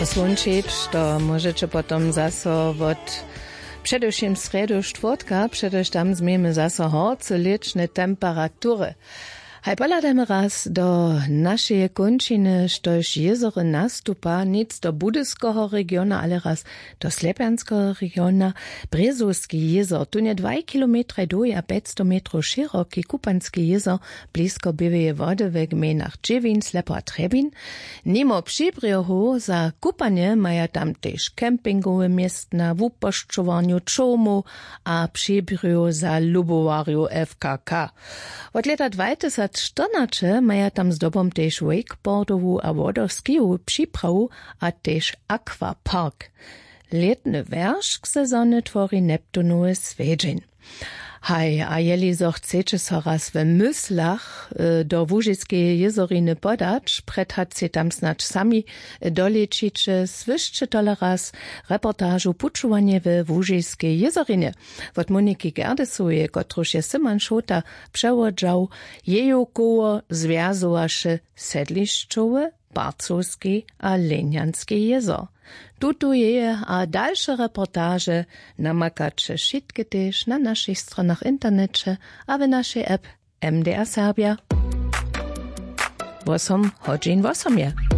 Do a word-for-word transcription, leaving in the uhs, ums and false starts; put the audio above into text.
Słónčić to móžeće potom zaso wot předewšěm srjedu štwórtka, předewšěm tam změjemy zaso horce lěčne temperatury. Haj pohladajmy raz do našeje kónčiny, štož jězory nastupa nic do budyskeho regiona, ale raz do slěpjanskeho regiona. Brězowski jězor, tón je dwaj kilometraj dołhi a pjećsto metrow šěroki, kupanski jězor, blisko běłeje wody we gmejnach dźěwin, slepo a trjebin. Nimo přibrjohow za kupanje maja tam tež campingowe městna, wupošćowarnju čołmow a přibrjohow za lubowarjow fkk. Wot lěta dwatysacštyrnaće maja tam zdobom tež wakeboardowu a wodoskijowu připrawu a tež aquapark. Lětny wjeršk sezony twori neptunowy swjedźeń. Haj, a jeli zo chceće so raz w myslach do łužiskeje jězoriny podać, prjed hač sej tam snadź sami dolećiće, słyšće tole raz reportažu pućowanje we łužiskej jězorinje wot moniki gerdesoweje, kotruž je syman šołta přewodźał. Jeju koło zwjazowaše sedlišćowy, parcowski a lenjanski jězor. Tutu jeje a dalše reportaže namakaće wšitke tež na našich stronach w interneće a w našej app. Mdr serbja. Wosom hodźin wosom je.